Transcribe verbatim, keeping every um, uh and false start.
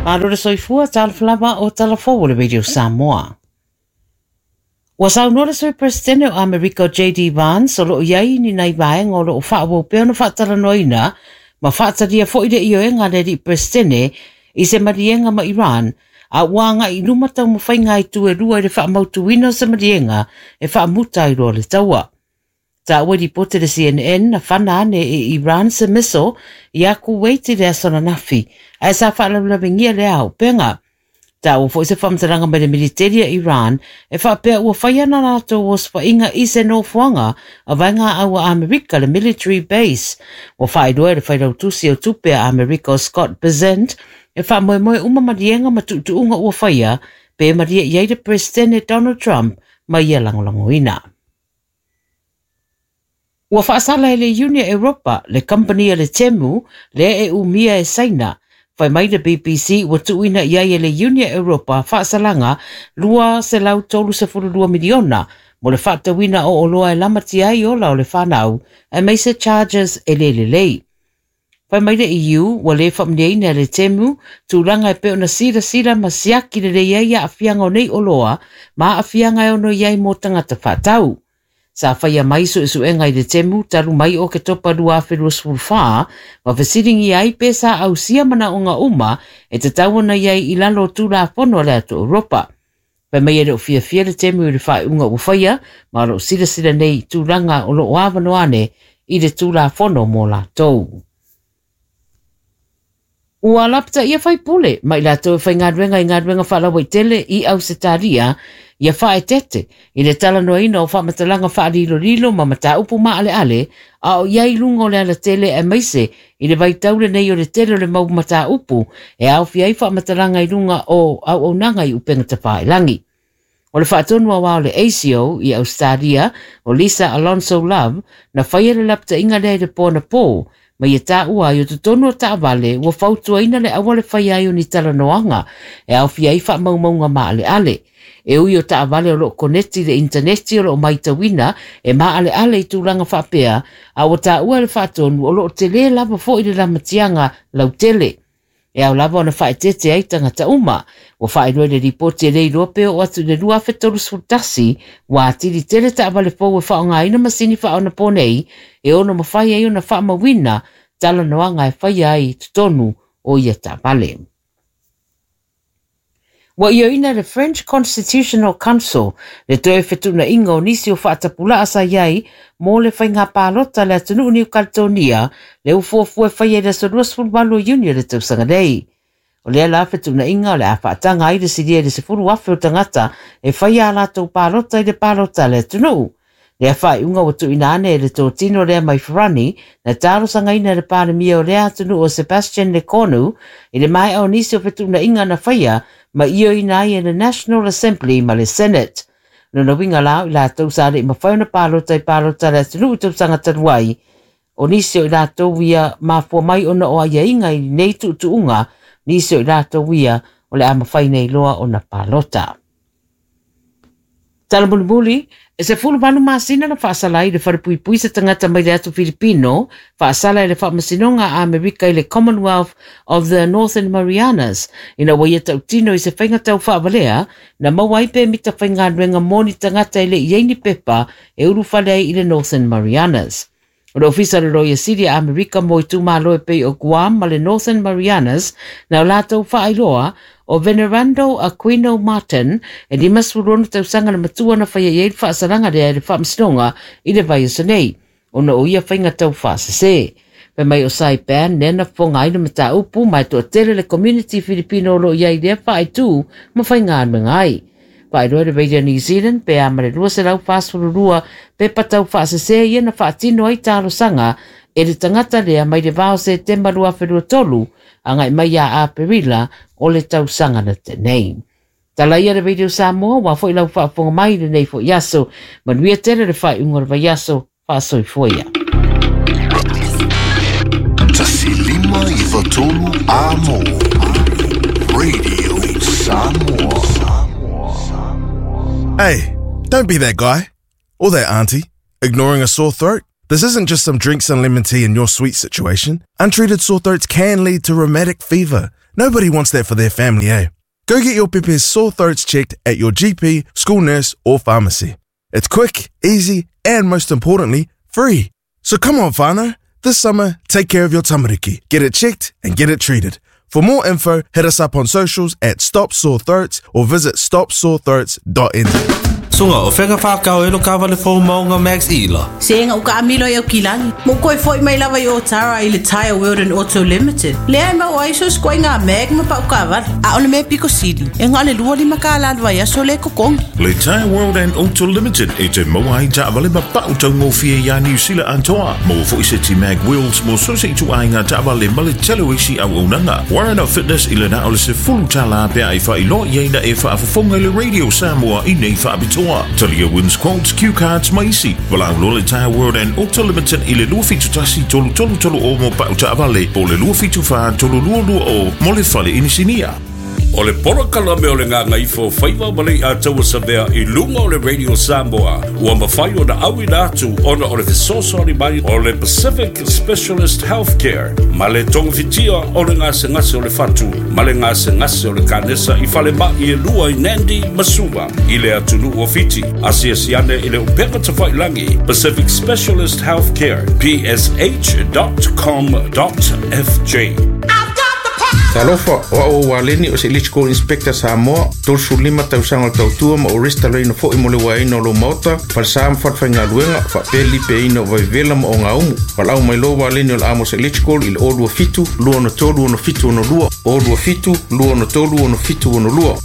Malo le soifua, talofa lava o tala fou o le Radio Samoa. Ua saunoa le Sui Peresetene o Amerika J D Vance o loo i ai ni nai vaega o loo faaauau pea ona faatalanoaina ma faatalia foi le ioega a le alii Peresetene i se maliega ma Iran, a ua agai i luma taumafaiga ai tu e lua i le faamautuina o se maliega e faamuta ai loa le taua. Taua ripote le C N N na fana ane e Iran se missile ia Kuwait i le aso ananafi, ae sa faalaulaveingia le auupega. Taua foi se faamatalaga mai le militeri a Iran e faapea ua fai ana latou osofaiga i se nofoaga a vaega aua Amerika le military base. Ua faailoa e le failautusi o tupe a Amerika o Scott Bessent e faamoemoe uma maliega ma tuutuuga ua faia pe malie i ai le Presidente Donald Trump ma ia lagolagoina. Ua faasala e le Iuni Europa le company a le Temu lea e umia e Saina. Fai mai le B B C ua tuuina i ai e le Iuni Europa faasalaga lua selau tolu sefulu lua miliona mo le faatauina o oloa e lamatia ai ola o le whanau aemaise charges e le lelei. Fai mai le E U ua le faamaniaina e le Temu tulaga e pei ona silasila ma siaki lelei ai aafiaga o nei oloa ma aafiaga e ono i ai mo tagata faatau. Sa faia mai suesuega i le Temu talu mai o Oketopa lua afe luasefulu fa ma fesilingia ai pe sa ausia manaoga uma e tatau ona i ai i lalo o Tulafono a le atu Europa. Fai mai e le o fiafia le Temu i le faaiuga ua faia ma o loo silasila nei tulaga o loo avanoa ane i le Tulafono mo latou. Ua lapataia faipule ma i latou e faigaluega i galuega faalauaitele i Ausetalia ia faaetete i le talanoaina o faamatalaga faalilolilo ma mataupu maaleale a o i ai luga o le alatele aemaise i le vaitau lenei o le tele o le mau mataupu e aofia ai faamatalaga i luga o auaunaga i upega tafailagi. O le faatonu aoao le A C O i Australia o Lisa Alonso Love na faia le lapataiga lea i le po anapo ma ia taua ai o totonu o taavale ua fautuaina le aua le faia ai o ni talanoaga e aofia ai faamaumauga maaleale. E ui o taavale o loo koneti le intaneti o loo maitauina e maaleale i tulaga faapea a ua taua le faatonu o loo tele lava foi le lamatiaga lautele. E ao lava ona faaetete ai tagata uma. Ua faailoa i le ripoti e le iloa pe oo atu i le lua afe tolusefulu tasi ua atili tele taavale fou e faaaogaina masini faaonaponei e ono mafai ai ona faamauina talanoaga e faia ai i totonu o ia taavale. Ua ioina le French Constitutional Council le toe fetuunaiga o nisi o faatapulaa sa i ai mo le faiga palota le atunuu Niu Caledonia le ufuafua e faia i le aso luasefulu valu o Iuni o le tausaga nei. O lea la fetuunaiga o le a faataga ai le silia i le sefulu afe o tagata e faia a latou palota i le palota a le atunuu. Lea faaiuga ua tuuina ane e le totino lea mai Farani na talosagaina e le Palemia o lea atunuu o Sebastian Lecornu i le maea o nisi o fetuunaiga na faia ma ioina ai e le National Assembly ma le Senate. Lona uiga la o i latou sa le i mafai ona palota i palota a le atunuu i tausaga talu ai. O nisi o i latou ia mafua mai ona o aiaiga i nei tuutuuga, nisi o i latou ia o le a mafai nei loa ona palota. Tala mulimuli, e sefulu valu masina na faasala ai le falepuipui se tagata mai le atu Filipino, faasala i le faamasinoga a Amerika i le Commonwealth of the Northern Marianas, ina ua ia tautino i se faiga tau faavalea, na maua ai pemita faigaluega mo ni tagata e le i ai ni pepa e ulufale ai i le Northern Marianas. O le ofisa o le Loia Sili a Amerika mo itumalo e pei o Guam ma le Northern Marianas na o latou faailoa o Venerando Aquino Martin e limasefulu ono tausaga le matua na faia i ai le faasalaga lea i le faamasinoga i le vaiaso nei, ona o ia faiga tau faasese. Fai mai o Saipan lea na fofoga ai le mataupu ma e toatele le community Filipino o loo i ai lea faaitu ma faigaluega ai. Faailoa le Radio New Zealand pe a ma le lua selau fasefulu lua pepa tau faasese ia na faatino ai talosaga e le tagata lea mai le va o Setema lua afe lua tolu agai mai ia Aperila o le tausaga na tenei. Tala ia le Radio Samoa ua foi lau faafofoga mai lenei foi aso. Manuia tele le faaiuga o le vaiaso faasoifua ia. Tasi lima iwa tolu a mo Radio Samoa. Hey, don't be that guy or that auntie ignoring a sore throat. This isn't just some drinks and lemon tea in your sweet situation. Untreated sore throats can lead to rheumatic fever. Nobody wants that for their family, eh? Go get your pepe's sore throats checked at your G P, school nurse, or pharmacy. It's quick, easy, and most importantly, free. So come on, whānau. This summer, take care of your tamariki. Get it checked and get it treated. For more info, hit us up on socials at Stop Sore Throats or visit stop sore throats dot n z. Sunga o whenga whakau e lo kawale fō maunga Max Ila. Se ngau ka amilo i au kilani. Mo koe foi mai lava i o tara i le Tire World and Auto Limited. Lea mau aiso skoe ngā mag ma pau kawale. A ole me piko sili. E ngā le lua lima ka lalwa ia so le kokongi. Le Tire World and Auto Limited e te maua ai taavale ma pau taungofie ia New Zealand antoa. Mo fo ise ti mag wheels mo so se itu ai ngā taavale ma le tele isi au unanga. Warren of Fitness i le na ole se fulu tala pea i wha ilo ia ina e wha afafonga le Radio Samoa i nei wha abitoa. Talia wins quotes, cue cards, maisi. Walau lo le Tire World and Auto Limited i le lua fitu tasi tolu tolu tolu o mo pau taavale po le lua fitu wha tolu lua lua o mo le fale inisinia. O le porokala me o le ngā ngaifo whaiwa malei a taua savea i lunga o le Radio Samoa. Ua mawhai o na awi na atu ona o le fesoasoani mai o le Pacific Specialist Healthcare. Ma le tongfitia o le ngasengase o le fatu. Ma le ngasengase o le kanesa i whale mai e lua i Nandi Masuva. I le atunu o Fiti. Asiasiane i le upeka tawhailangi. Pacific Specialist Healthcare. P S H dot com dot F J. Talofa, o au waleni o se Electrical Inspector Samoa, tolu lima tausaga o le tautua ma o restalaina fo'i mo le uaina o lou maota, falesa ma falefaigaluega, faapea le lipeaina o vaivela ma ogaumu. Valaau mai lo waleni o le Amos Electrical i le o lua fitu, lua ono tolu ono fitu ono lua, o lua fitu, lua ono tolu ono fitu ono lua.